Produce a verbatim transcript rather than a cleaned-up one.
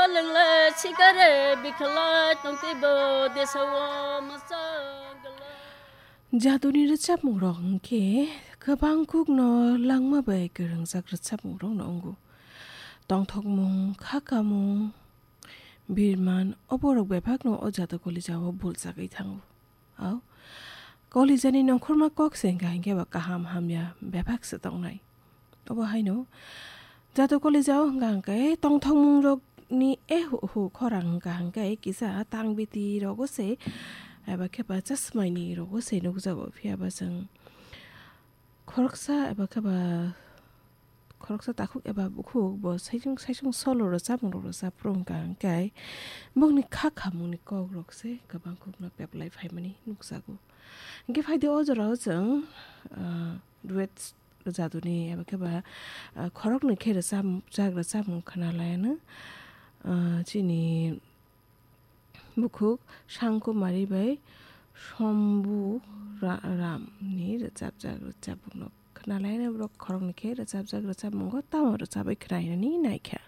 Lengla sikare bikhala tongtibo desao masangala. Jaduni rwchapmungrok hwnkhe kwbang kukno langma bai kwrwngjak rwchapmungrokno wngo. Tongthokmung, khakamung, birman, oborok bephakno o jado kolijao bulchagwi thango. Au, kolijani nongkhorma kok se wngkha hinkhe bo kaham hamya bephak se tongnai. Obo haino jado kolijao wngkha hinkhe tongthokmungrokni e hu hu khorang wngkha hinkhe kisa tang biti rogo se eba khe ba chasmaini rogo se nukjago. Phiya ba chwng khoroksa eba khe ba khoroksa takhuk eba bukhuk bo saisung saisung solo rwchapmung rok rwchap rwngkha hinkhe bongni kha khamungni kok rok se kwbang kukno peplai phaimani nukjago. Hinkhe phaidi o jorao chwng, ah, duet jaduni eba khe ba, ah, khoroknwi khe rwchap, jak rwchapmung khna laiano, ah, chini bukhuk Sangkumari bai Sombu Ra-, Ram ni rwchapjak rwchapmungno khna laiano borok khoroknwi khe rwchapjak rwchapmungo tamo rwchapwi khna hinani naikha.